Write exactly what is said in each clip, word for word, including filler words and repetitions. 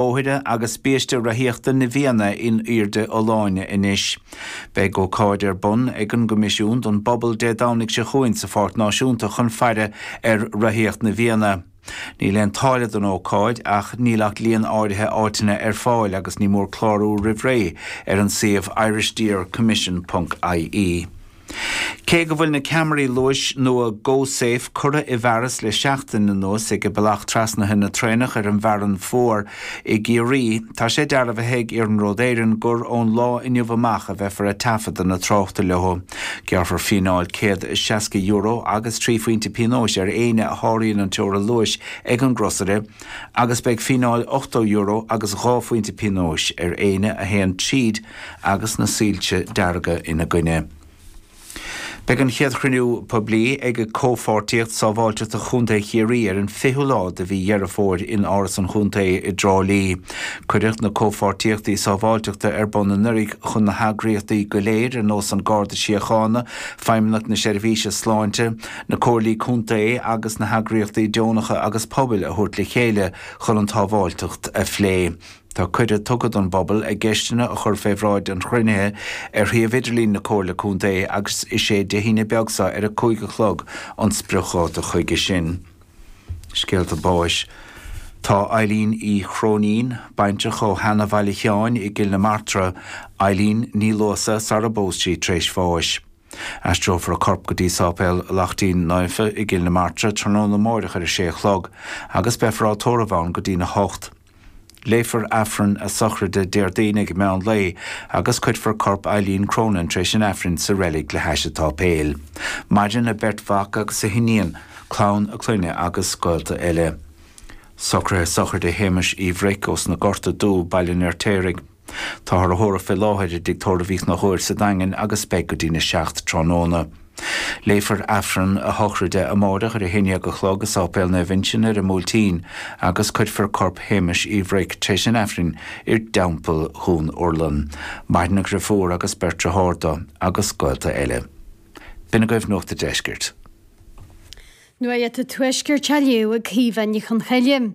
Bóithre agus biaiste reathaíochta na bhFianna in airde fholláine anois. Beidh ócáid ar bun ag an gCoimisiún don bpobal Dé Domhnaigh seo chugainn sa Pháirc Náisiúnta chun faire ar reathaíocht na bhFianna. Níl aon táille don ócáid ach níl ach líon áirithe áiteanna ar fáil agus ní mór clárú roimh ré ar an suíomh irishdeercommission.ie. Cé go bhfuil na ceamaraí luais nua GoSafe curtha i bhfearas le seachtain anuas ag bealach trasnaithe na traenach ar an bhFearann Fuar i gCiarraí, tá sé dearbhaithe ag Iarnród Éireann gur ón lá inniu amach a bheifear ag taifeadadh na tráchta leo. Gearrfar fíneáil céad is seasca euro agus trí phointe pionóis ar éinne a sháraíonn an teorainn luais ag an gcrosaire agus beidh fíneáil ochtó euro agus dhá phointe pionóis ar éinne a théann tríd agus na soilse dearga ina gcoinne. Beidh an chéad chruinniú poiblí ag Comhpháirtíocht Sábháilteachta Chontae Chiarraí ar an fichiú lá de mhí Dheireadh Fómhair in Áras an Chontae i dTrá Lí. Cuireadh na Comhpháirtíochtaí Sábháilteachta ar bun anuraidh chun na heagraíochtaí go léir ar nós an Garda Síochána, Feidhmeannacht na Seirbhíse Sláinte, na Comhairlí Contae agus na heagraíochtaí deonacha agus pobail a thabhairt le chéile chun an tsábháilteacht a phlé. Tá cuireadh tugtha don bpobal a gceisteanna a chur fé bhráid an chruinnithe ar shuíomh idirlín na Comhairle Contae agus is é Dé hAoine beag seo ar a cúig a chlog an spriocdháta chuige sin. Scéalta báis. Tá Eileen Uí Chróinín, baintreach ó Sheana Bhaile Sheáin i gCill na Martra, Eileen Ní Luasa sara bpós sí tar éis bháis. Aistreofar a corp go dtí Sáipéal Laichtín Naofa i gCill na Martra tráthnóna amáireach ar a sé a chlog agus beifear á tórramh ann go dtína hocht. Léifear Aifreann a sochraide Déardaoin ag meán lae agus cuirfear corp Eileen Cronin tar éis an Aifrinn sa reilig le hais an tsáipéil. Maireann a beirt mhac agus a hiníon, clann a clainne agus gaolta eile. Socruithe sochraide Shéamais Uí Bhric ós na Gorta Dubh, Baile an Fheirtéaraigh. Táthar á thórramh fé láthair i dTigh Tórraimh Uí Chonchúir sa Daingean agus beidh go dtína seacht tráthnóna. Léifear Aifreann a shochraide amáireach ar a haon déag a chlog i Sáipéal Naomh Uinseann ar an mBuailtín agus cuirfear corp Shéamais Uí Bhric tar éis an Aifrinn i dTeampall Dhún Urlann. Maireann a dhriofúr agus beirt dearthár dó agus gaolta eile. B'in agaibh Nuacht an Deiscirt. Nuacht an Tuaiscirt á léamh ag Caoimhe Ní Chonchoille.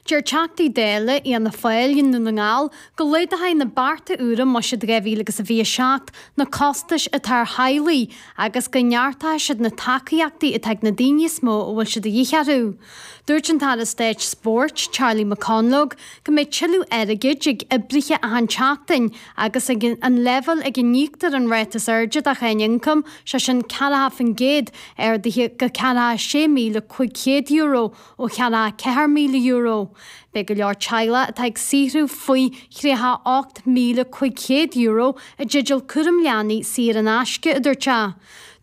Deir Teachtaí Dála Fhianna Fáil i nDún na nGall go laghdóidh na bearta úra i mBuiséad dhá mhíle agus a fiche a seacht na costais atá ar theaghlaigh agus go neartóidh siad na tacaíochtaí atá ag na daoine is mó a bhfuil sé de dhíth orthu. Dúirt an tAire Stáit Spóirt, Charlie McConalogue, go mbeidh tuilleadh airgid ag oibrithe achan tseachtain agus ag an leibhéal ag a n-íoctar an ráta is airde de cháin ioncaim, sé sin ceathracha faoin gcéad, ardaithe go ceathracha sé míle cúig chéad euro ó cheathracha ceathair míle euro. Beidh go leor teaghlach atá ag saothrú faoi thríocha ocht míle cúig chéad euro i dteideal cúram leanaí saor in aisce, a dúirt sé.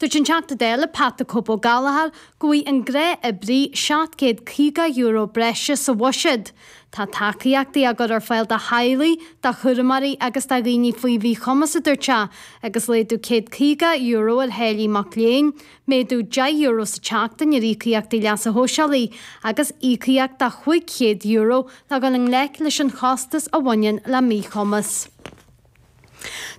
Dúirt an Teachta Dála Pat the Cope Ó Gallchóir go bhfaighidh an gnáthoibrí seacht gcéad caoga euro breise sa bhuiséad. Tá tacaíochtaí á gcur ar fáil do theaghlaigh, do chúramóirí agus do dhaoine faoi mhíchumas, a dúirt sé, agus laghdú céad caoga euro ar tháillí mac léinn, méadú deich euro sa tseachtain ar íocaíochtaí leasa shóisialaigh agus íocaíocht de chúig chéad euro le dhul i ngleic leis an chostas a bhaineann le míchumas.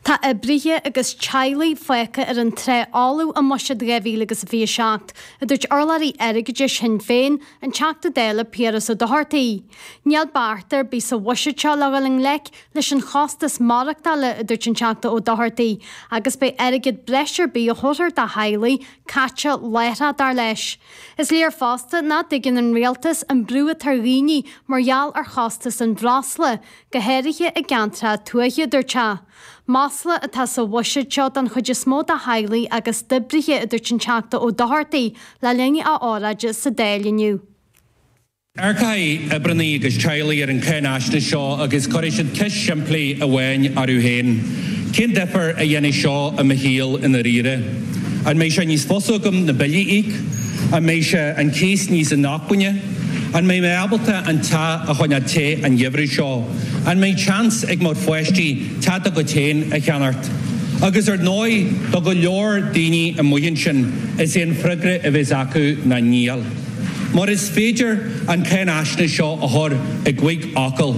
Tá oibrithe agus teaghlaigh fágtha ar an trá fholamh i mBuiséad dhá mhíle agus a fiche a seacht, a dúirt urlabhraí airgeadais Shinn Féin, an Teachta Dála Piaras Ó Dochartaigh. Níl beart ar bith sa bhuiséad seo le dhul i ngleic leis an chostas maireachtála, a dúirt an Teachta Ó Dochartaigh, agus beidh airgead breise ar bith a thabharfar do theaghlaigh caite láithreach, dar leis. Is léir fosta nach dtuigeann an rialtas an brú atá ar dhaoine mar gheall ar chostas an bhreosla, go háirithe i gceantracha tuaithe, a dúirt sé. Masla atá sa bhuiséad seo don chuid is mó de theaghlaigh agus d'oibrithe, a dúirt an Teachta Ó Dochartaigh le linn a óráide sa Dáil inniu. Amharcfaidh oibreannaí agus teaghlaigh ar an cháinaisnéis seo agus cuirfidh siad ceist shimplí amháin orthu féin, Cén difear a dhéanfaidh seo i mo shaol i ndáiríre? An mbeidh sé níos fusa agam na billí a íoc? An mbeidh sé an cíos níos inacmhainne? An mbeidh mé ábalta an teach a choinneáil te an gheimhreadh seo? An mbeidh seans ag mo pháistí teach dá gcuid féin a cheannacht? Agus ar ndóigh, do go leor daoine amuigh ansin, is é an freagra a bheas acu ná níl. Mar is féidir an cháinaisnéis seo a chur i gcúig fhocal,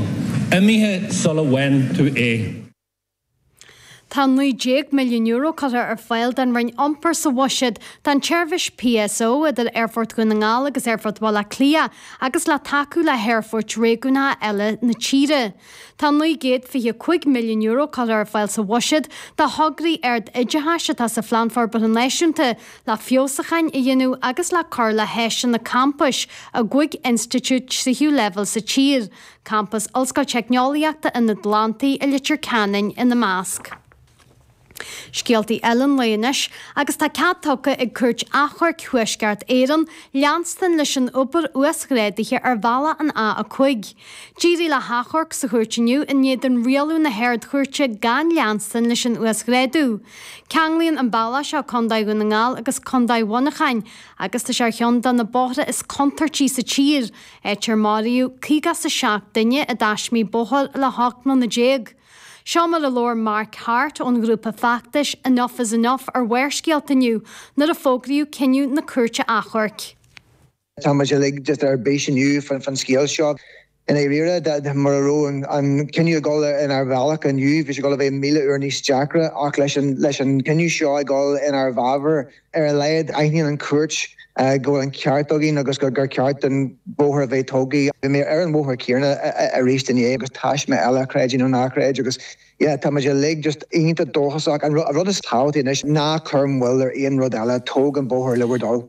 imithe sula bhfaigheann tú é. Tá naoi déag milliún euro curtha ar fáil don Roinn Iompair sa bhuiséad don tseirbhís PSO idir Aerfort Dhún na nGall agus Aerfort Bhaile Átha Cliath agus le tacú le haerfoirt réigiúnacha eile na tíre. Tá naoi gcéad fiche cúig milliún euro curtha ar fáil sa bhuiséad do thograí ard-oideachais atá sa Phlean Forbartha Náisiúnta le feabhsúcháin a dhéanamh agus le cur le háiseanna campais i gcúig institiúid tríú leibhéal sa tír, Campas Ollscoil Teicneolaíochta an Atlantaigh i Leitir Ceanainn ina measc. Scéaltaí eile an lae anois agus tá cead tugtha ag Cúirt Achomhairc Thuaisceart Éireann leanstan leis an obair uasghrádaithe ar bhealach an A a cúig. D'éirigh le hachomharc sa chúirt inniu in éadan rialú na hArd-Chúirte gan leanstan leis an uasghrádú. Ceanglaíonn an bealach seo Contae Dhún na nGall agus Contae Mhuineacháin agus tá sé ar cheann de na bóithre is contúirtí sa tír, áit ar maraíodh caoga is a seacht duine i dtaismí bóthair le hocht mbliana déag. Seo mar a labhair Mark Hart ón ghrúpa feachtais Enough is Enough ar Bharrscéalta inniu nuair a fógraíodh cinneadh na Cúirte Achomhairc. Tá muid uilig just ar bís inniu faoin scéal seo. I ndáiríre, mura raibh an cinneadh ag dul inár bhealach inniu, bhí sé ag dul a bheith míle uair níos deacra ach leis an leis an cinneadh seo ag dul inár bhfabhar, ar a laghad aithníonn an chúirt go bhfuil an ceart againn agus gur gur ceart an bóthar a bheith tógtha. Bhí mé ar an bhóthar céanna arís inné agus taisme eile creid é nó ná creid agus yeah, tá muid uilig just iontach dóchasach. An rud is tábhachtaí anois ná cuir moill ar aon rud eile, tóg an bóthar le bhur dtoil.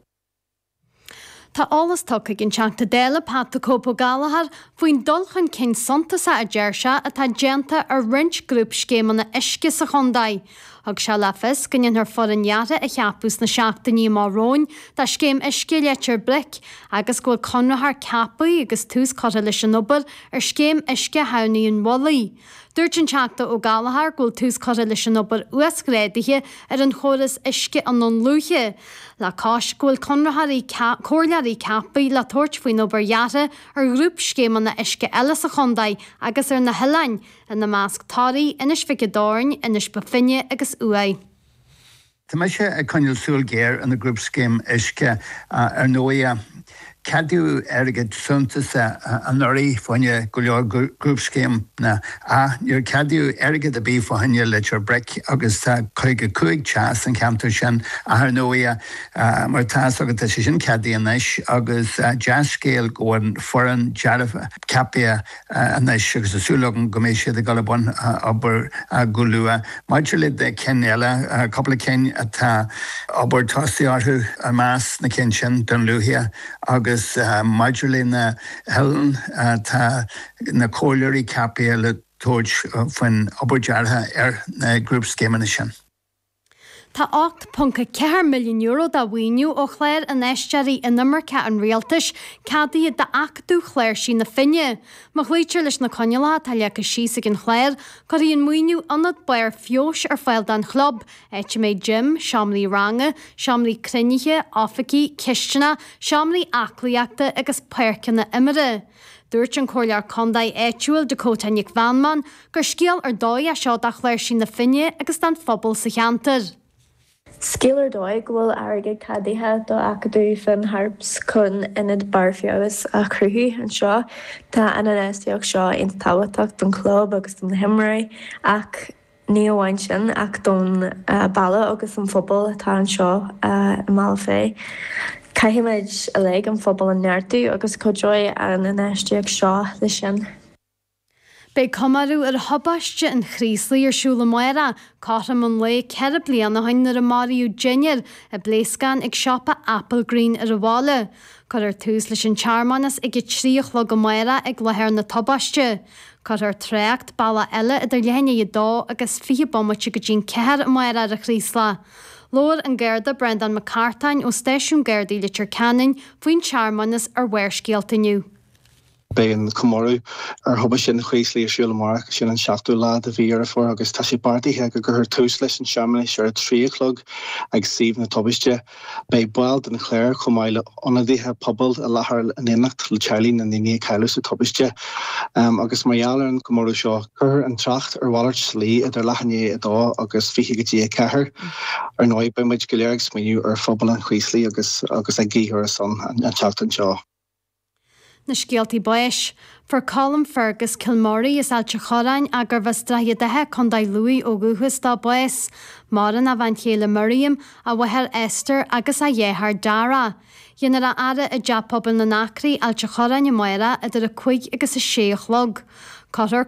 Tá eolas tugtha ag an Teachta Dála Pat the Cope Ó Gallchóir faoin dul chun cinn suntasach a deir sé atá déanta ar roinnt grúpscéimeanna uisce sa chontae. Thug sé le fios go ndéanfar foireann dheartha a cheapadh sna seachtainí amach romhainn do scéim uisce Leitir Bric agus go bhfuil conraitheoir ceaptha agus tús curtha leis an obair ar scéim uisce Thamhnaigh an Mhullaigh. Dúirt an Teachta Ó Gallchóir go bhfuil tús curtha leis an obair uasghrádaithe ar an chóras uisce i nDún Lúiche, le cois go bhfuil conraitheoirí comhairleoirí ceaptha le tabhairt faoin obair dheartha ar ghrúpscéimeanna uisce eile sa chontae agus ar na hoileáin, ina measc Toraigh, Inis Mhic an Doirn, Inis Bó Finne agus Uaigh. Tá mise ag coinneáil súil ghéar ar na grúpscéim uisce. Ar ndóigh, ceadaíodh airgead suntasach anuraidh fá choinne go leor grúpscéimeanna ach níor ceadaíodh airgead ar bith fá choinne Leitir Bric agus tá caoga cúig teach san cheantar sin ach ar ndóigh, mar atá fhios agat tá sé sin ceadaithe anois agus dea-scéal go bhfuil foireann deartha ceaptha anois agus tá súil agam go mbeidh siad ag dul i mbun obair go luath. Maidir le cinn eile, cúpla cinn atá obair tosaithe orthu i measc na cinn sin Dún Lúiche agus maidir le na hoileáin tá na comhairleoirí ceaptha le tabhairt faoin obair deartha ar na grúpscéimeanna sin. Tá ocht ponc a ceathair milliún euro de mhaoiniú ó chlár Infheisteoirí Inimirce an Rialtais ceadaithe d'Acadamh Chláirsí na Finne. Má chloítear leis na coinníollacha atá leagtha síos ag an chlár, cuirfidh an maoiniú ionad barr feabhais ar fáil don chlub, áit a mbeidh gym, seomraí ranga, seomraí cruinnithe, oifigí, cistineach, seomraí aclaíochta agus páirceanna imeartha. Dúirt an Comhairleoir Contae áitiúil Dakota Nic Mheanman gur scéal ar dóigh é seo do Chláirsí na Finne agus don phobal sa cheantar. Scéal ar dóigh go bhfuil airgead ceadaithe do Acadamh Finn Harps chun ionad barr feabhais a chruthú anseo. Tá an infheistíocht seo iontach tábhachtach don chlub agus don na himreoirí ach ní amháin sin ach don baile agus an phobal atá anseo i mBealach Féich. Caithfimid uilig an phobal a neartú agus cuideoidh an infheistíocht seo leis sin. Beidh comóradh ar thubaiste an Chraoslaigh ar siúl amárach, cothrom an lae ceithre bliana ó shin nuair a maraíodh deichniúr i bpléascán ag siopa Applegreen ar an bhaile. Cuirfear tús leis an tsearmanas ag a trí a chlog amárach ag láthair na tubaiste. Cuirfear trácht bealach eile idir leath i ndiaidh a dó agus fiche bomaite go dtí'n ceathair amárach ar an Chraoslach. Labhair an Garda Breandán Mac Cartáin ó Stáisiún Gardaí Leitir Ceanainn faoin tsearmanas ar Bharrscéalta inniu. Beidh an comóradh ar thubaiste an Chraoslaigh ar siúl amárach, sin an seachtú lá de mhí Dheireadh Fómhair agus tá sé beartaithe go gcuirfear tús leis an searmanas ar a trí a chlog ag suíomh na tubaiste. Beidh baill den chléir chomh maith le ionadaithe pobail i láthair in éineacht le teaghlaigh na ndaoine a cailleadh sa tubaiste. Agus mar gheall ar an gcomóradh seo, cuirfear an trácht ar mhalairt slí idir leath i ndiaidh a dó agus fiche go dtí a ceathair. Ar ndóigh, beidh muid go léir ag smaoineamh ar phobal an Chraoslaigh agus agus ag guí ar a son an tseachtain seo. Na scéaltaí báis. Fuair Colm Fergus Kilmurray as Ailt a' Chorráin, gurbh as Droichead Átha, Contae Lú ó dhúchas dó, bás. Maireann a bhean chéile Miriam, a mháthair Esther agus a dheartháir Dara. Déanfar a fhaire i dTeach Pobail na nAcraí, Ailt a' Chorráin amárach idir a cúig agus a sé a chlog. Cuirfear